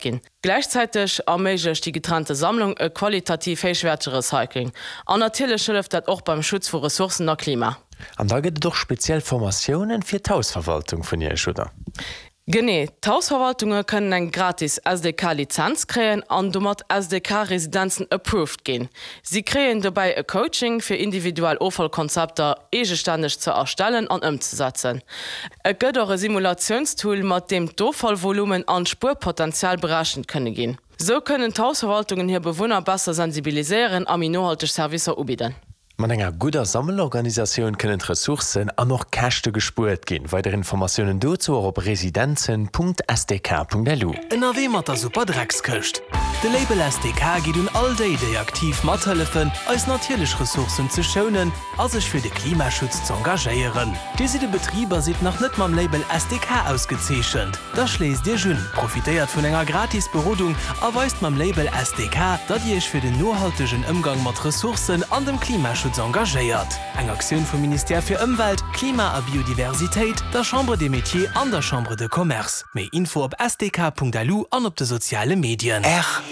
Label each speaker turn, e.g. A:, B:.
A: Ginn. Gläichzäiteg erméiglecht déi getrennte Sammlung e qualitativ héichwäertege Recycling. An natierlech hëlleft dat och beim Schutz vu Ressourcen a Klima.
B: An da gëtt et och speziell Formatiounen fir d'Hausverwaltung vun Iech, oder?
A: Genee, d'Hausverwaltunge kënnen eng gratis SDK-Lizenz kréien an domat SDK-Residenzen approved ginn. Si kréien dobäi e Coaching, fir individuell Offallkonzepter eegestänneg ze erstellen an ëmzesetzen. Et gëtt och e Simulatiounstool, mat deem d'Offallvolumen an d'Spuerpotenzial berechent kënne ginn. Sou kënnen d'Hausverwaltungen hir Bewunner besser sensibiliséieren a méi nohalteg Servicer ubidden.
B: Mat enger gudder Sammelorganisatioun kënnen d'Ressourcen an och Käschte gespuert ginn. Weider Informatiounen dozou och op residenzen.sdk.lu.
C: Ënnerwee mat der Super Dreckskëscht. De Label SDK geet un all déi, déi aktiv mathëllefen, eis natierlech Ressourcen ze schounen a sech fir de Klimaschutz z'engagéieren. Dir sidd e Betrib a sidd nach net mam Label SDK ausgezeechent? Da schléisst Iech un, profitéiert vun enger gratis Berodung a weist mam Label SDK, datt Dir Iech fir den nohaltegen Ëmgang mat Ressourcen an dem Klimaschutz engagéiert. Eng Aktioun vum Ministère fir Ëmwelt, Klima a Biodiversitéit, der Chambre des Métiers an der Chambre de Commerce. Méi Info op sdk.lu an op de soziale Medien.
D: Rtl.